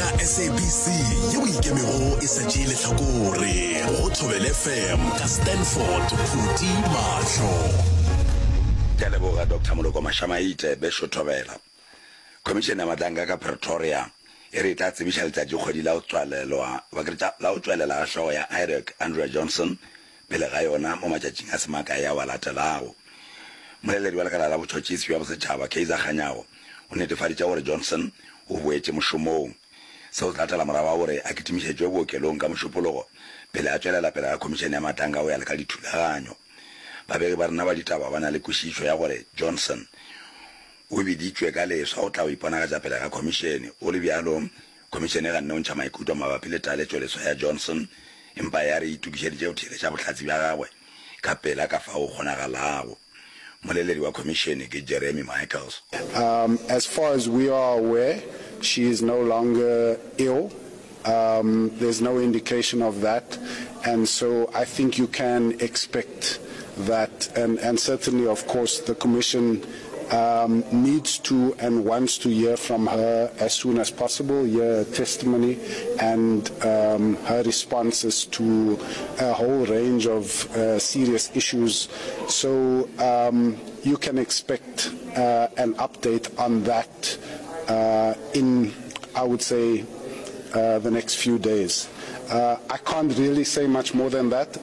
Tša SABC yeo e ikemego e sa tšee lehlakore go Thobela FM ka Stanford Phuti Mahlo. Ke a leboga Doctor Moloko Mashamaite, Bešo Thobela. Khomišene ya Matlanka ka Pretoria e re e tla tsebiša letšatšikgwedi la go tswalelwa la go tšwelela ga hlogo ya IREC Andrea Johnson pele ga yona mo matšatšing a se makae ao a latelago. Mmoleledi wa lekala la botšhotšhisi bja bosetšhaba Kaizer Kganyago o netefaditše gore Johnson o boetše mošomong. Seo se latela morago ga gore a kitimišetšwe bookelong ka Mošupologo pele a tšwelela pele ga Khomišene ya Matlanka go ya le ka dithulaganyo. Babegi ba rena ba ditaba ba na le kwešišo ya gore Johnson o biditšwe ka leswa go tla go iponagatša pele ga khomišene. Go le bjalo, Khomišene e ganne go ntšha maikutlo mabapi le taletšo leswa ya Johnson, empa ya re e itokišeditše go theeletša bohlatse bja gagwe ka pela ka fao go kgonagalago. Mmoleledi wa khomišene ke Jeremy Michaels. Um, as far as we are aware, she is no longer ill. Um, there's no indication of that. And so I think you can expect that. And, and certainly, of course, the Commission um, needs to and wants to hear from her as soon as possible, hear her testimony and um, her responses to a whole range of uh, serious issues. So um, you can expect uh, an update on that uh, in, I would say, uh, the next few days. Uh, I can't really say much more than that.